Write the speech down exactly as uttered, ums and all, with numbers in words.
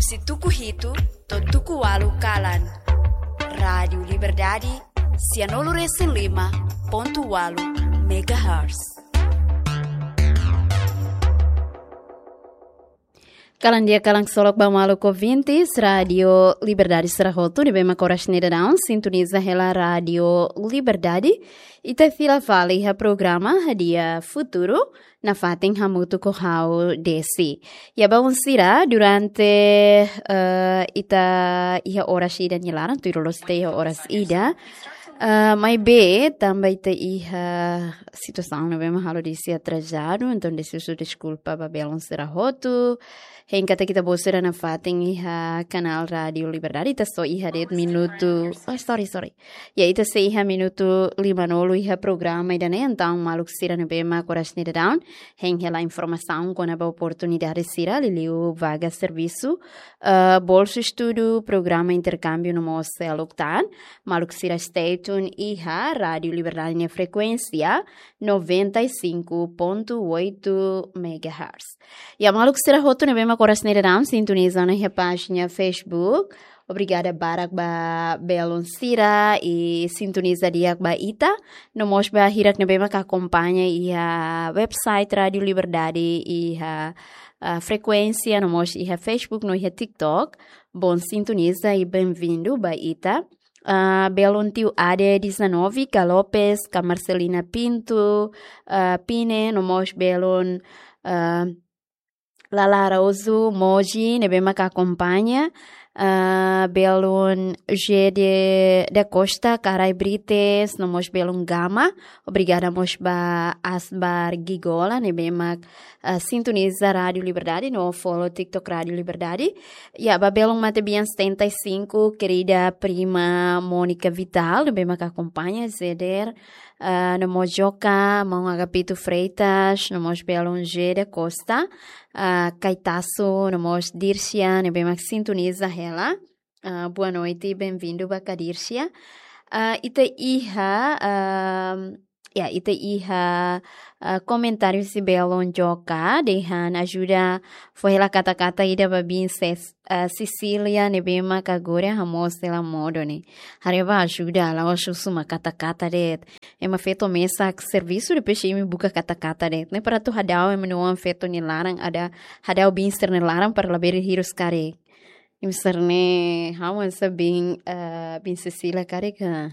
Husi tuku hitu to'o tuku ualu kalan. Rádiu Liberdade, sianulu resin lima pontu ualu megahertz. Kalan di'ak, kalan ksolok ba maluk ouvintes Rádiu Liberdade sira hotu ne'ebé mak oras ne'e daudaun sintoniza hela Rádiu Liberdade. Ita fila fali iha programa Hadi'a Futuru, nafatin hamutuk ho ha'u Desi. Ya, bainhira durante, eh, ita iha oras ida nia laran, tuir loloos ita iha oras ida. Eh, maibé tanba ita iha situasaun ne'ebé mak halo Desi atrasadu, entaun Desi husu deskulpa ba belun sira hotu. Hein katak ita-boot sira nafatin iha kanál Rádiu Liberdade, ita só iha de'it minutu. Oh, sorry, sorry. Ya, ita sei iha minutu limanulu iha programa ida-ne'e, entaun maluk sira ne'ebé mak oras ne'e daudaun hein hela informasaun kona-ba oportunidade sira liuliu vaga servisu, eh, bolsu estudu, programa interkámbiu no mós seluk tan, maluk sira stay tune iha Rádiu Liberdade nia frekuénsia noventa e cinco ponto oito megahertz. Ya, maluk sira hotu ne'ebé mak oras ne'e daudaun sintoniza ona iha pájina Facebook. Obrigada barak ba belun sira ne'ebé sintoniza di'ak ba ita. No mós ba hirak ne'ebé mak akompaña iha website Rádiu Liberdade, iha, ah, frekuénsia, no mós iha Facebook, no iha TikTok. Bom sintonizar e bem-vindo ba ita. Ah, belun tiu Ade dezanove, K Lopes, K Marcelina Pinto, ah, Pine, no mós belun, ah, Lala Araújo, Moji, ne'ebé mak akompaña, ah, belun G de, da Costa, Karai Brites, no mós belun Gama. Obrigada mós ba Asbar Gigola, ne'ebé mak, ah, sintoniza Rádiu Liberdade, no follow TikTok Rádiu Liberdade. Ya, ba belun matebian setenta e cinco, querida prima Mónica Vital, ne'ebé mak akompaña, Zeder, ah, no mós Joka, maun Agapito Freitas, no mós belun G de Costa, ah, Caetaço, no mós Dircia, ne'ebé mak sintoniza hela. Ah, boa noite, bem-vindo ba ka Dircia. Ah, ita iha, ah, ya, ita iha, ah, komentáriu husi belun Joka, dehan ajuda fó hela kata-kata ida ba biin ses-, ah, Cecília ne'ebé mak agora hamoos hela modo ne'e. Haree ba ajuda, la'ós husu mak kata-kata de'it. Ema feto mesak servisu, depois imi buka kata-kata de'it. Ne'e para atu hadau ema nia oan feto nia laran, atu hadau biin sira-nia laran para labele hirus karik. Imi sira-ne'e, ha'u hanesan biin, eh, biin Cecília karik, eh,